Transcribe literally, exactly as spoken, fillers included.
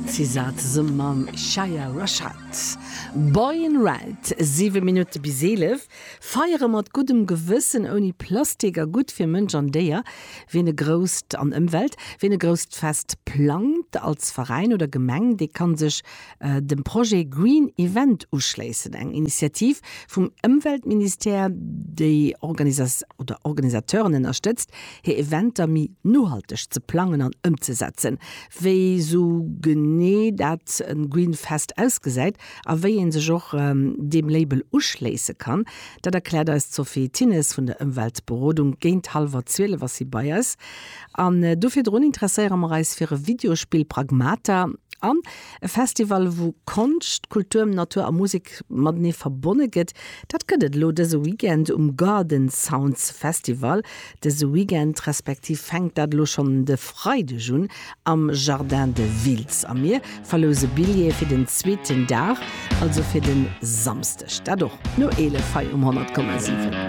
SZA zesumme mam Isaiah Rashad. Boy in Red, siwe Minutte bis eelef. Feiere mat guddem Gewëssen ouni Plastik a gutt fir Mënsch an Déier, wien e grousst an Ëmwelt, wien e grousst Fest plangt als Veräin oder Gemeng, dee kann sech dem Projet Green Event uschléissen, eng Initiativ vum Ëmweltministère, déi Organisas oder Organisateuren ënnerstëtzt, hir Eventer méi nohalteg ze plangen an ëmzesetzen. Wéi sou genee dat e Green Fest ausgesäit a wéi een sech och deem Label uschléisse kann, dat erkläert eis d'Sophie Thinnes vun der Ëmweltberodung. Géint hallwer zwielef ass si bei eis. An do virdrun interesséiere mer eis fir e Videospill Pragmata an e Festival, wou Konscht, Kultur, Natur a Musek matenee verbonne gëtt. Dat gëtt et elo dëse Weekend um Garden Sounds Festival. Dëse Weekend respektiv fänkt dat elo schonn de Freideg un am Jardin de Wiltz. A mir verlouse Billjeeë fir den zweeten Dag, also fir de Samsdeg. Dat och no eelef hei um honnert Komma siwen.